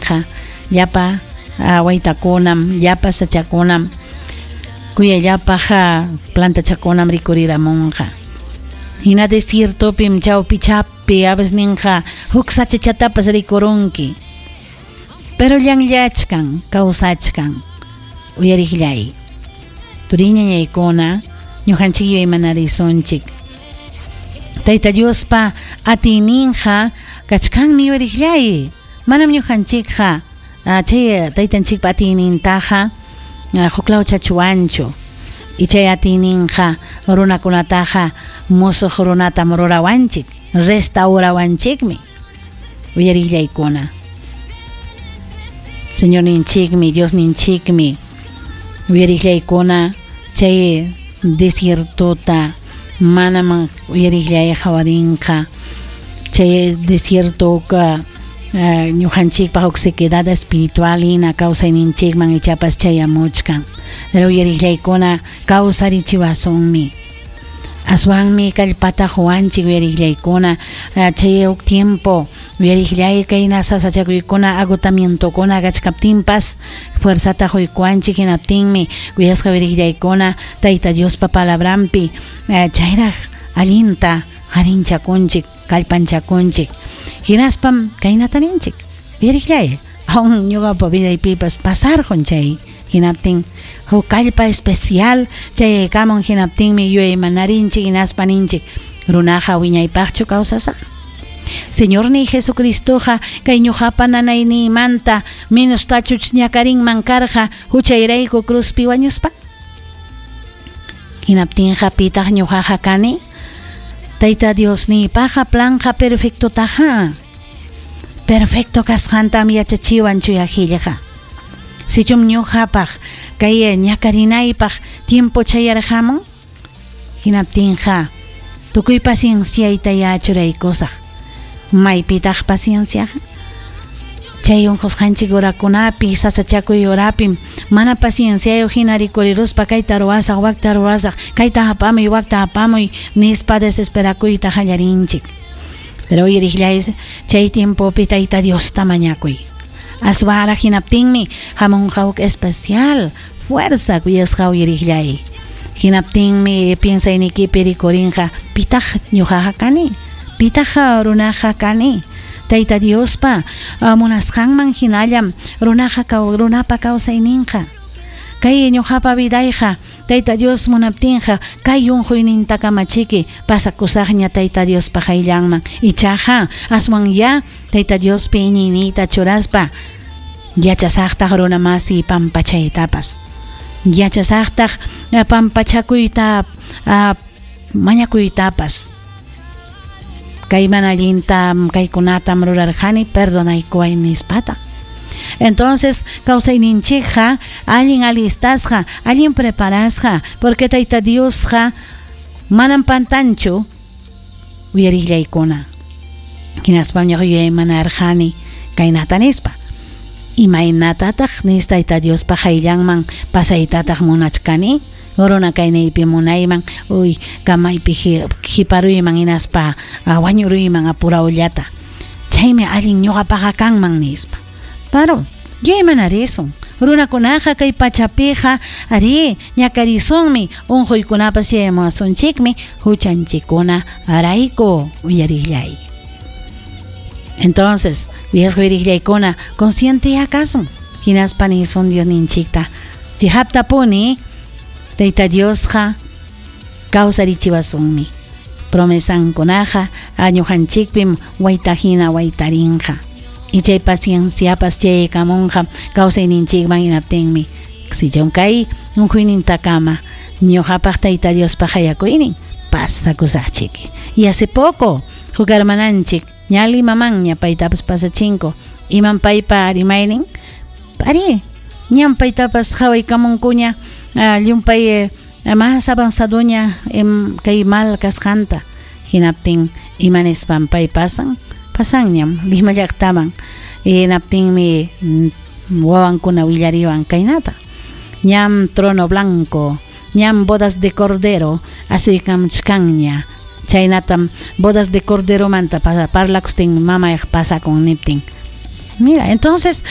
Hinaptinqa llapa waytakunam, llapa sachakunam, kuyayllapaq plantachakunam rikuriramunqa. Hina desiertopim chawpichapi a huk sachachatapas rikurunki. Pero llanllachkan, kawsachkan, uyariqllay. Turiñañaykuna, ñuqanchik yuyaymanarisunchik. Tayta Diospa atiyninqa kachkanmi, uyariqllay. Manam ñuqanchikqa chay taytanchikpa atiynintaqa huklawchachuwanchu. Y chay atiyninqa runakunataqa musuq runatam rurawanchik, restaurawanchikmi. Uyariqllaykuna. Señorninchikmi, Diosninchikmi, uyariqllaykuna, chay desiertota manam, uyariqllay, qawarinqa. Chay desiertoqa ñuqanchikpaq huk sequedad espiritual hina kawsayninchikman ichapas chayamuchkan. Pero, uyariqllaykuna, kawsarichiwasunmi. Aswanmi kallpata quwanchik, uyariqllaykuna, chay huk tiempo, uyariqllay, kayna sasachakuykuna, agotamientokuna kachkaptinpas fuerzata quykuwanchik. Hinaptinmi, kuyasqa uyariqllaykuna, Tayta Diospa palabranpi chayraq allinta qarinchakunchik, kallpanchakunchik. Hinaspam kaynata ninchik, uyariqllay, aún ñuqapa vidaypipas pasarqun chay. Hinaptin huk kallpa especial chayaykamun. Hinaptinmi yuyaymanarinchik, hinaspa ninchik: "Runaqa wiñaypaqchu kawsasaq? Señorniy Jesucristoqa kay ñuqapa nanayniymanta menostachuch ñakarinman karqa huchayrayku cruzpi wañuspa? Hinaptinqa, pitaq ñuqaqa kani? Tayta Diosniypaqa planqa perfectotaqa. Perfecto kasqantam yachachiwan Chuya Qillqa. Sichum ñuqapaq kay ñakarinaypaq tiempo chayarqamun, hinaptinqa tukuy pacienciayta churaykusaq. Maypitaq pacienciaqa? Chay unqusqanchik horakunapi, sasachakuy horapim mana pacienciayuq hina rikuriruspa kayta ruwasaq, wakta ruwasaq, kayta apamuy, wakta apamuy nispa desesperakuyta qallarinchik. Pero, uyariqllay, chay tiempopi Tayta Diosta mañakuy. Aswanraq hinaptinmi hamunqa huk especial fuerza, kuyasqa uyariqllay. Hinaptinmi piensaynikipi rikurinqa: pitaq ñuqaqa kani? Pitaq runaqa kani? Tayta Diospa munasqanman hinallam runaqa, runapa kawsayninqa. Kay ñuqapa vidayqa, Tayta Dios munaptinqa, kay unquynintakamachiki pasakusaqña Tayta Diospa qayllanman. Ichaqa aswan ya Tayta Diospi iñiyniyta churaspa yachasaqtaq runa masi pampachaytapas. Yachasaqtaq pampachakuyta, mañakuytapas. Kay mana allintam, kaykunatam rurarqani, perdonaykuway nispataq. Entonces, kawsayninchikqa allin alistasqa, allin preparasqa, porque Tayta Diosqa manam pantanchu, uyariqllaykuna. Hinaspam ñuqa yuyaymanarqani kaynata nispa: Imaynatataq nis Tayta Diospa qayllanman pasaytataq munachkani? Runa kayniypi munayman, uy, kamaypi hiparuyman hinaspa wañuruyman apurawllata. Chaymi allin ñuqapaqa kanman nispa. Pero yuyaymanarisun. Runakunaqa kay pachapiqa arí ñakarisunmi, unquykunapas chayamuwasunchikmi huchanchikkuna rayku, uyariqllay. Entonces, kuyasqa uyariqllaykuna, consciente kasun. Hinaspa nisun Diosninchikta: Chiqaptapuni Tayta Diosqa kawsarichiwasunmi. Promesankunaqa ñuqanchikpim wayta hina waytarinqa. Y chay pacienciapas chayaykamunqa kawsayninchikman. Hinaptinmi sichum kay unquynintakama ñuqapaq Tayta Diospa qayakuynin, pasakusaqchik. Y hace poco huk hermananchik ña Limamanña paytapas pasachinku. Imam paypa rimaynin? Arí, ñam paytapas qhawaykamunkuña llumpay más avanzadoña kay mal kasqanta. Hinaptin, ima nispan pay pasan? Pasanñam Lima llaqtaman. Hinaptinmi wawankuna willariwan kaynata: ñam trono blanco, ñam bodas de cordero asuykamuchkanña. Chaynatam bodas de corderomanta parlakustin mamayq pasakun niptin. Mira, entonces